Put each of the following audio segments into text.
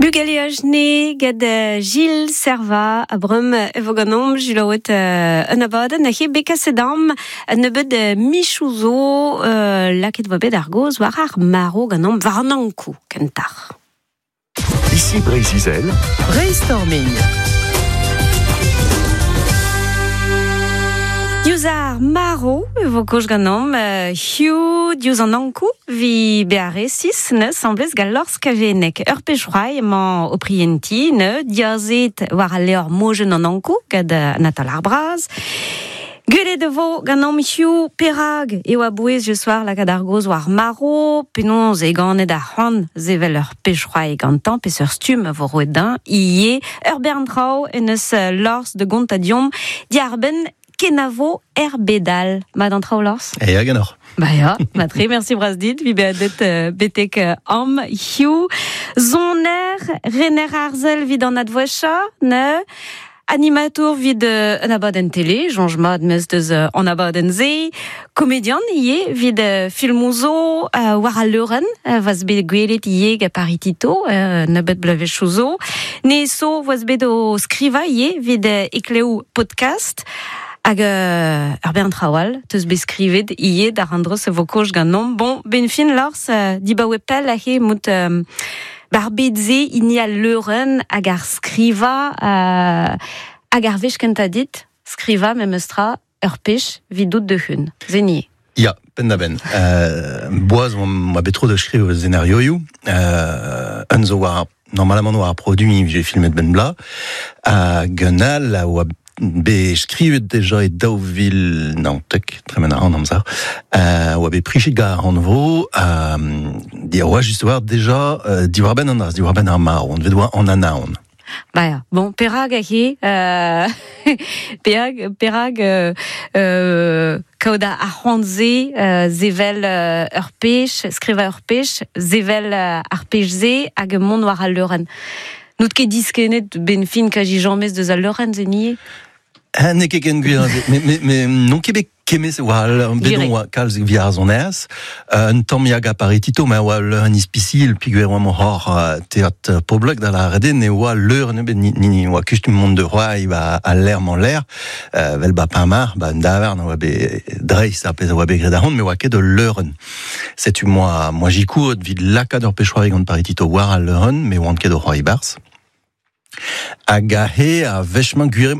Bugaleaj ne gant Gilles Serva a breum e vo ganeomp Gilles un abadenn a he bet kaset am un nebeud michoù zo lakaet vo bet ar gaoz war ar marv ganeomp war an Ankou kentoc'h. Ici Breizh-Izel. Brainstorming. Diouzh ar marv e vo kaoz ganeomp hiziv diouzh an Ankou vi bezañ resis ne semblez gant Lors Kaveneg. Ur pech c'hoari emañ o prientiñ ne diazet war al levr Mojenn an Ankou gant Anatole ar Braz. Gwelet e vo ganeomp hiziv perak eo a-bouez soir lakaat ar gaoz war marv, penaos eo ganet ar c'hoant sevel ur pech c'hoari gantañ, peseurt stumm a vo roet dezhañ ivez. Ur bern traoù en deus Lors da gontañ deomp diarbenn kenavo er bed all. Mat an traoù, Lors? E hag enoc'h. Ba ya, matre, merci bras dit, vi bezañ deut betek am hiziv. Soner, rener arzel 'vit an advouezhañ, ne? Animatour 'vit un abadenn tele, soñj mat 'meus deus an abadenn-se. Komedian ivez 'vit filmoù zo war al leurenn, 'voas bet gwelet ivez gant Paris-Tito nebeut bloavezhioù zo. Ne so 'voas bet o skrivañ ivez 'vit Eklev podcast. Hag ur bern traoù all 'teus bet skrivet ivez d'ar an-dro se vo kaoz ganeomp. Bon, 'benn fin Lors, dibaoe pell aze 'mout Bar bed-se hini al leurenn hag ar skrivañ hag ar wech kentañ dit skrivañ memes tra ur pech 'vidout da-hun. Se ni. Ya, penn-da-benn. Boaz oa bet tro da skriv senarioioù. Un zo war normalement war ar produiñ vije filmet benn bloaz. Hag un all a oa bet skrivet deja e 2019, tremen a ran amzer, oa bet prichet gant ar rannvro, oa just war deja diwar-benn an dra, diwar-benn ar marv, anvet oa an anaon. Ba ya, bon, perak he, perak, perak kaout ar c'hoant-se sevel ur pech, skrivañ ur pech, sevel ar pech-se hag mont war al leurenn. N'out ket diskennet ben fin kaji james deus al leurenn se nie? N'eo ket ken gwir me n'on ket bet kemez war bet on oa kalz evit ar sonerezh. Un tamm ya paritito ma oa leurenn ispisiel peogwir oa hor teatr poblek da lâret eo ne oa leurenn ebet ni oa kustum mont da c'hoari ba al lec'h-mañ-lec'h vel ba Penmarc'h ba un davarn a oa bet dreist ar pezh a oa bet graet ahont me oa ket ul leurenn. Setu moa moa zikouret evit lakaat ur pezh-c'hoari gant Paritito war al leurenn, me oan ket o c'hoari barzh. Hag aze a wech-mañ gwir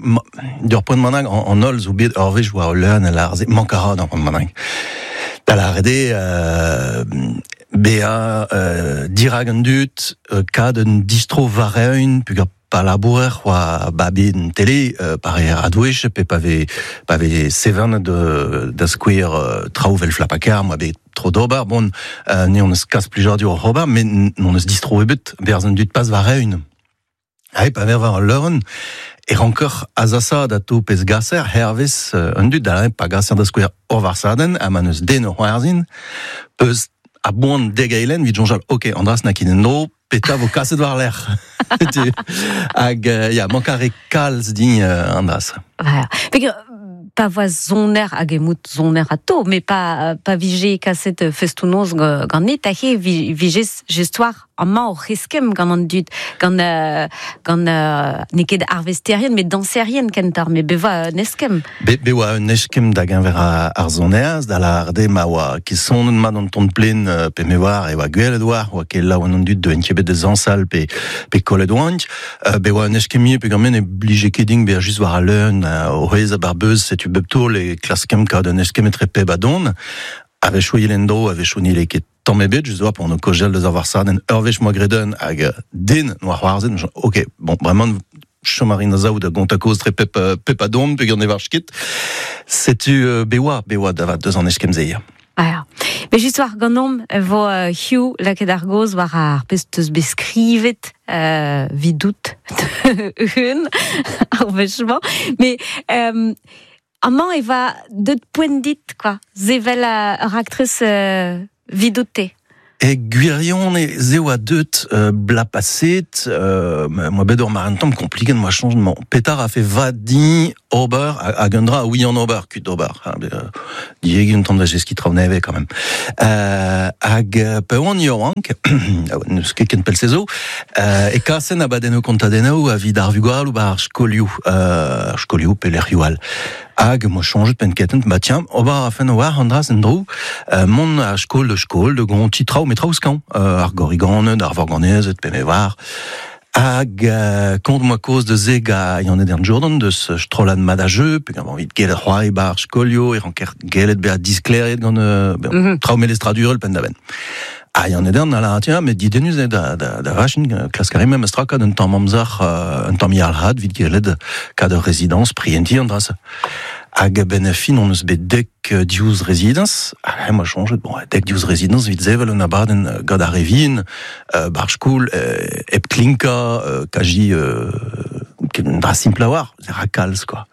d'ur poent bennak an holl zo bet ur wech war ul leurenn a lâr se mank a ra d'ur poent bennak. Da lâret eo bezañ dirak an dud, kad un distro war-eeun peogwir pa labourer oa ba bet en tele pa reer adwech pe pa vez pa vez sevenet da skouer traoù 'vel Flapakarr moa bet tro d'ober bon ne hon eus kas plijadur oc'h ober met n'hon eus distro ebet berzh an dud pas war-eeun. Ha pa vez war al leurenn e ranker azasaat atao pezh gaser hervez an dud da pa gaser da skouer ur varsadenn ha ma n'eus den o c'hoarzhin peus a-boan dek eilenn evit soñjal ok an dra-se n'a ket en-dro petra vo kaset war-lerc'h. Hag ya, mank a re kalz din an dra-se. Voilà. Pa voa soner hag emout soner atao, met pa, pa vije kaset festoù-noz ganit, aze vije jestoar amañ oc'h eskemm gant an dud, gant, gant n'eo ket arvesterien, met dañserien kentoc'h, met bevañ un eskemm. Bet bet oa un eskemm da geñver ar sonerezh, da lâret eo ma oa ket sonet mat an ton plen pe me oar e oa gwelet oar, oa ket laouen an dud deuent ket bet da zañsal pe pe kollet oant. Bet oa un eskemm ivez peogwir ne blije ket din bezañ just war al leun o c'hwezhañ bar beuz, setu bep taol e klaskemp kaout un eskemm etre pep a don. A-wechoù e en-dro, a-wechoù n'helle ket tamm ebet, just oa p'on o kaozeal deus ar varsadenn ur wech 'moa graet un hag den 'noa c'hoarzhet. Ok, bon, bremañ chom a rin a-sav da gontañ kaoz tre pep, pep a don peogwir ne varch ket. Setu bet oa, bet oa da vat deus an eskemm-se. Ah, Mais just war ganeomp e vo hiziv lakaet ar gaoz war ar pezh 'teus bet skrivet 'vidout un ar wech-mañ. Mais amañ e va deut poent dit quoi, sevel ur raktres 'vidout-te. E gwirion e zeo a deut bla paset, moi bet ur mar un tamm kompliket, moi change mon petar a fait vadi ober, hag un dra oui en ober, kut ober. Dieg un tamm da jeski traoù neve quand même. Hag pe oan yoank, neus ket ken pel sezo, e kasen abadenno kontadenno a vid ar vugal ou ba ar skolioù, skolioù pe lec'hioù all. Hag moi changet pen ketent, ba tiens, ober a fen war an dra sen dro, mont a skol de skol, de gonti traoù, met traoù skañ, ar gorriganed, ar vorganezed, pe me war. Hag kont moa koz de ze ga yann edern Jordan deus strollad madajeu, pe gant envie gelet c'hoari bar skolio, e ranker gelet bezañ diskleriet gant traoù melestradurel pen da ben. Ha yann edern a la tiens, met didenus eo da, da, da vachin, klask a rimem straka d'un tamm amzer, un tamm yalc'had vit gelet kad ur rezidans prienti an dra-se. Hag ben a fin on eus bet dek diouz rezidans, hag moi changet, bon, dek diouz rezidans vit zevel un abadenn gant ar revin, bar skol, ep klinka, kaji, un dra simple a war, ze rakalz, quoi.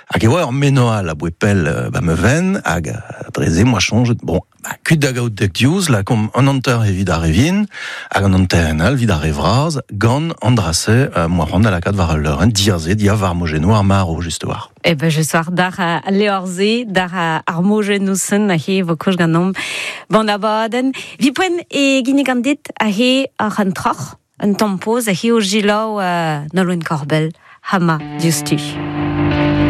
Hag e oa ur menoal a boe pell ba me ven, hag dreze moi changet, bon, ba, kuit da gaout dek diouz, la kom an anter evit ar revin, hag an anter en al vid ar revraz, gant an drase, moi c'hoant da lakaat war al leurenn, diaze, dia war mojeno ar maro, just war. E ben, je soar dar a leorze, dar a ar mojenousen, a he vo koch ganomp bon abadenn. Vi poen e gine gant dit a he ar an troc'h, un tampoz, a he o jilaou Nolwenn Korbell, hama diouzhtu.